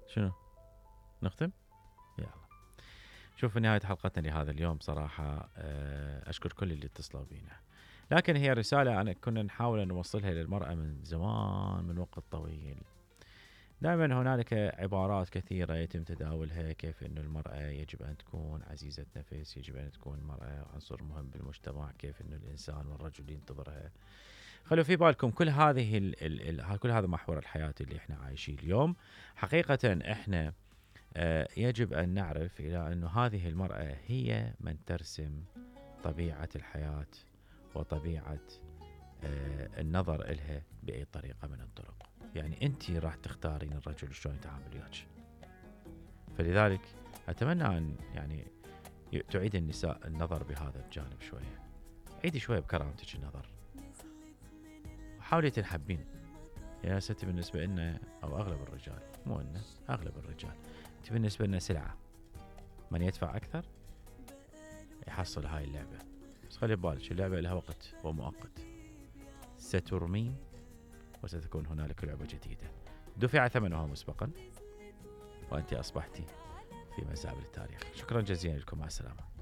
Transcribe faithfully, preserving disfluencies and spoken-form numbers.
شنو نختم؟ يلا. شوف في نهاية حلقتنا لهذا اليوم صراحة أشكر كل اللي اتصلوا بينا، لكن هي رسالة أنا كنا نحاول أن نوصلها للمرأة من زمان، من وقت طويل. دائما هنالك عبارات كثيرة يتم تداولها، كيف أن المرأة يجب أن تكون عزيزة نفس، يجب أن تكون المرأة عنصر مهم بالمجتمع، كيف أن الإنسان والرجل ينتظرها. خلوا في بالكم كل هذه ال ال ال كل هذا محور الحياة اللي احنا عايشين اليوم. حقيقة احنا اه يجب أن نعرف إلى أن هذه المرأة هي من ترسم طبيعة الحياة وطبيعة اه النظر إلها بأي طريقة من الطرق. يعني أنت راح تختارين الرجل شلون يتعامل وياك. فلذلك أتمنى أن يعني تعيد النساء النظر بهذا الجانب شوية. عيدي شوية بكرامتك النظر، حاولي تنحبين. يا ستي بالنسبة لنا أو أغلب الرجال، مو إنه أغلب الرجال، أنت بالنسبة لنا سلعة، من يدفع أكثر يحصل هاي اللعبة. بس خلي بالك اللعبة لها وقت ومؤقت، سترمين وستكون هنالك لعبة جديدة دفع ثمنها مسبقا وأنت أصبحتي في مزابل التاريخ. شكرا جزيلا لكم، مع السلامة.